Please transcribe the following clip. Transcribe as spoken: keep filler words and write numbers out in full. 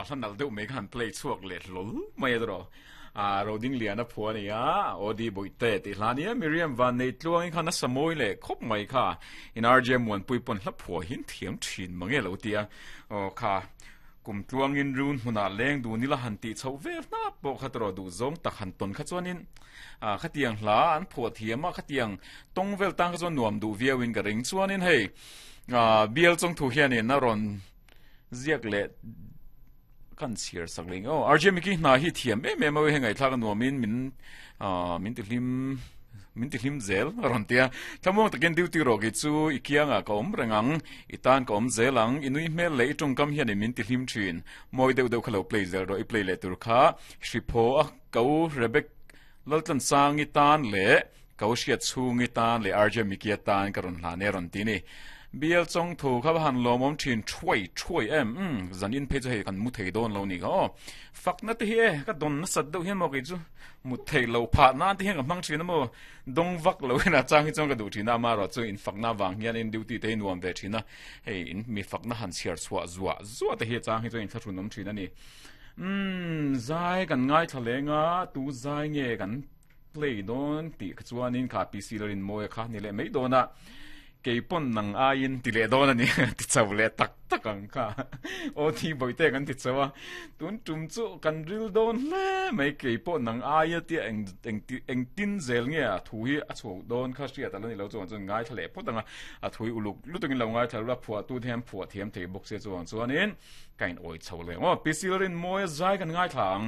hla nalh deuh mai kha han play chhuak leh hlawl mai a tawh a roding lian a phua a ni a Odi Bawihte tih hla nia Miriam van nei tluangin khan a sa mawi leh khawp mai kha in R J Muanpui pawn hla phua hi an thiam thin mange lo tia aw kha kum tluangin run hmunah leng dun ila han tih chhoh vel hnap pawh kha tawh duh zawng tak han tawn kha chuanin a khatiang hla an phuah thiam a khatiang tawng vel tang kha chuan nuam duh viauin ka ring chuanin hei a bial chawng thu hianin a rawn ziak leh kan chhiar sak leh aw R J Miki hna hi thiam em em a hei ngaihthlak a nuamin min ah min ti hlim min ti hlim zel a rawn tia thlamuang takin duty rawh ki chu i kiangah ka awm reng ang i tan ka awm zel ang i nui hmel leh i tawngkam hian min ti hlim thin mawi deuh deuh kha lo play zel rawh i play leh tur kha hriphaw a ko Rebecca Laltlan sangi tan leh ko hriat chhungi tan leh R J Miki tan ka rawn hlan e rawn ti ni bial chawng thu kha han lawmawm thin thuai thuai em um zan in phei chu hei kan mu thei dawn lo ni kha aw fakna te hi e ka don na sat deuh hian maw kei chu mu thei lo phah nan te hian ka hmang thin a maw dawng vak lo in a chang hi chuan ka duh thin a ama erawh chu in fakna vang hian in duty te hi nuam ve thin a hei in mi fakna han chhiar chhuah zuah zuah te hi a chang hi chuan in thlahrun awm thin a ni um zai kan ngaithla leng a tu zai nge kan play dawn tih kha chuanin kha P C larin mawi a kha ni leh mai dawn a keipon nang aiin ti leh dawn a ni ti chho leh tak tak ang kha aw thi bawihte kan ti chho a tun tum chu kan ril dawn hle mai keipawh nang aia tia eng eng eng tin zel nge a thu hi a chhuak dawn kha hriat ala ni lo chuan chuan ngaithla leh phawt anga a thu hi uluk lutukin lo ngaithla lura phuah tu te hian phuah thiam thei bawk se chuang chuanin ka in awi chho leh aw P C larin mawi a zai kan ngaithla ang.